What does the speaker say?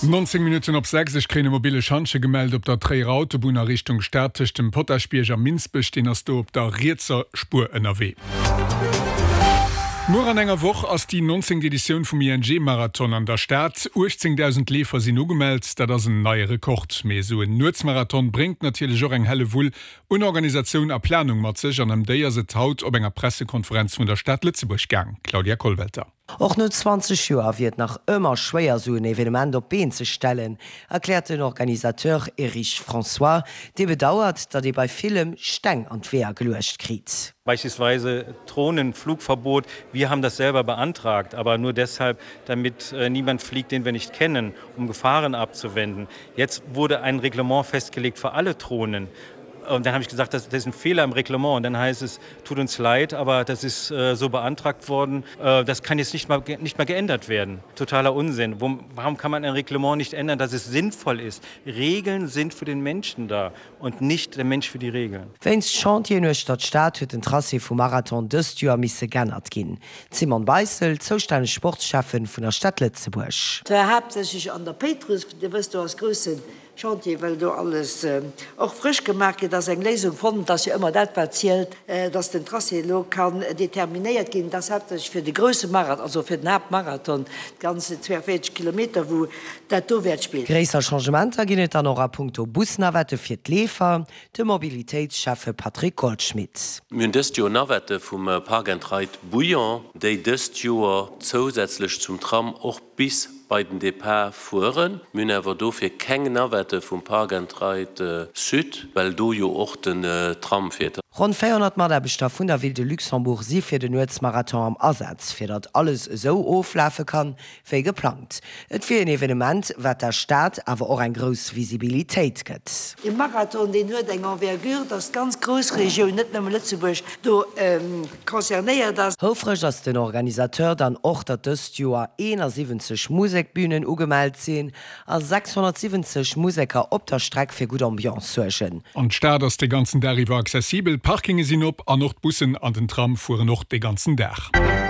19 Minutten op 6, Ech kréien e mobile Schantje gemellt op der Tréierer Autobunn a Richtung Stad tëscht dem Potaschbierg a Minsbech. Deen ass do op der rietser Spuer ënnerwee. Muer an enger Woch ass déi 19. Editioun vum ING-Marathon an der Stad. 18.000 Leefer sinn ugemellt, dat ass en neie Rekord. Mee esou en Nuetsmarathon bréngt natierlech och eng Hellewull un Organisatioun a Planung mat sech an ëm déi ass et haut op enger Pressekonferenz vun der Stad Lëtzebuerg gaang. Claudia Kollwelter. Och no 20 Joer wier et nach ëmmer schwéier sou en Evenement op d'Been ze stellen, erkläert den Organisateur Erich François, dee bedauert, datt ee bei villem Steng an d'Weeër geluecht kritt. Beispielsweise Drohnenflugverbot, wir haben das selber beantragt, aber nur deshalb, damit niemand fliegt, den wir nicht kennen, um Gefahren abzuwenden. Jetzt wurde ein Reglement festgelegt für alle Drohnen. Und dann habe ich gesagt, das, das ist ein Fehler im Reglement. Und dann heißt es, tut uns leid, aber das ist äh, so beantragt worden, äh, das kann jetzt nicht mal, nicht mal geändert werden. Totaler Unsinn. Wo, warum kann man ein Reglement nicht ändern, dass es sinnvoll ist? Regeln sind für den Menschen da und nicht der Mensch für die Regeln. Wéinst Chantieren uechter d'Stad huet den Tracé vum Marathon dëst Joer misse g'ännert ginn. D'Simone Beissel, zoustänneg Sportschäffen vun der Stad Lëtzebuerg. Zwar haaptsächlech an der Péitruss, Dir wësst, do ass grousse Chantier, well do alles och frësch gemaach gëtt, ass eng Léisung fonnt. Et ass jo ëmmer dat, wat zielt, dass den Tracé elo kann determinéiert ginn. Et ass haaptsächlech fir de grousse Marathon, also fir den Haaptmarathon, d'ganz 42 Kilometer, wou dat do wäert spillen. Gréisser Changementer ginn et dann och a punkto Busnavette fir d'Leefer. De Mobilitéitsschäffe Patrick Goldschmidt. Mir hunn dëst Joer Navette vum Park and Ride Bouillon, déi dëst Joer zousätzlech zum Tram och bis bei den Depart fueren. Mir hunn awer dofir keng Navette vum Park and Ride Sud, well do jo och den Tram fiert. Ronn 400 Mataarbechter vun der Ville de Luxembourg si fir den Nuetsmarathon am Asaz, fir datt alles esou oflafe kann, wéi geplangt. Et wier een Evenement, wat der Stad awer och eng grouss Visibilitéit gëtt. Dee Marathon, deen huet eng Envergure, dass d'ganz Groussregioun, net nëmme Lëtzebuerg, do concernéiert ass. Houfreg ass den Organisateur dann och, datt dëst Joer 71 Musekbünen ugemellt sinn a 670 Museker op der Streck fir gutt Ambiance suergen. An d'Stad ass de ganzen Dag iwwer accessibel, d'Parkinge sinn op an och d'Bussen an den Tram fueren och de ganzen Dag.